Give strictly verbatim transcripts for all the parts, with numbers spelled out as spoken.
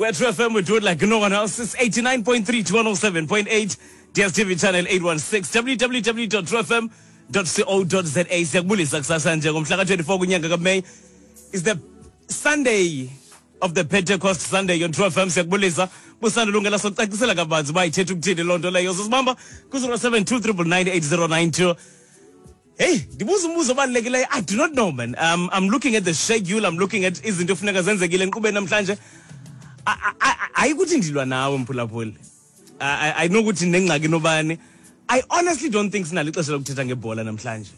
We're True F M, we do it like no one else. It's eighty-nine point three to one oh seven point eight, D S T V channel eight one six, w w w dot true f m dot co dot z a. Siyakubulisa kusasa nje ngomhla ka twenty-four kunyanga kaMay. Is the Sunday of the Pentecost Sunday on True F M. Siyakubulisa. Busanda lungela sokucacisela kabanzi uba ithetha ukuthini loo nto leyo. Sosibamba ku zero seven two triple nine eight zero nine two. Hey, ndibuza umbuzo obalulekileyo. I do not know, man. Um, I'm looking at the schedule. I'm looking at izinto efuneka zenzekile enkqubeni namhlanje. Ayikuthi ndilwa nawe mphulaphuli. I know ukuthi nengxaki nobani. I honestly don't think sinalo ixesha lokuthetha ngebhola namhlanje.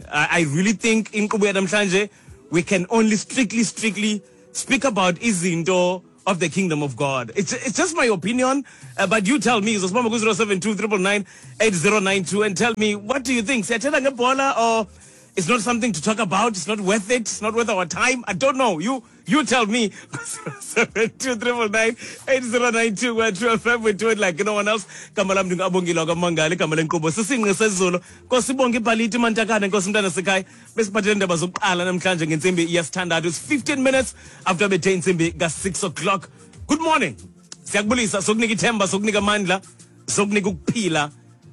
I, I really think inkqubo yanamhlanje we can only strictly, strictly speak about izinto of the kingdom of God. It's, it's just my opinion, uh, but you tell me. zero seven two triple nine eight zero nine two and tell me, what do you think? Siyathetha ngebhola or it's not something to talk about? It's not worth it? It's not worth our time? I don't know. You you tell me. zero seven two triple nine eight zero nine two. We're True F M. We do it like no one else. Igama lam ndingu-Abongile kaMangali, igama lenkqubo sisinqi sezulu. Nkosi ibonge ibhaliti mantakane, Nkosi mntana sekhaya. Besiphathele indaba zokuqala namhlanje ngentsimbi yesithandathu. It's fifteen minutes after bethe intsimbi ka-six o'clock. Good morning. Siyakubulisa, sokunika ithemba, sokunika amandla, sokunika ukuphila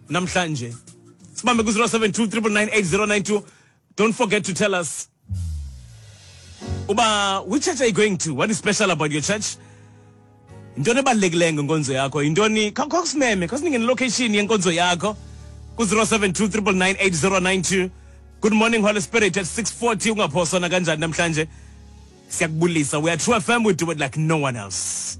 namhlanje. Sibambe ku zero seven two triple nine eight zero nine two. Don't forget to tell us, uba, which church are you going to? What is special about your church? Yintoni ebalulekileyo ngenkonzo yakho? Yintoni? Khawusimeme, khawusinike nelocation yenkonzo yakho ku zero seven two triple nine eight zero nine two. Good morning, Holy Spirit at six forty. Ungaphoswa nakanjani namhlanje? Siyakubulisa. We are True F M. We do it like no one else.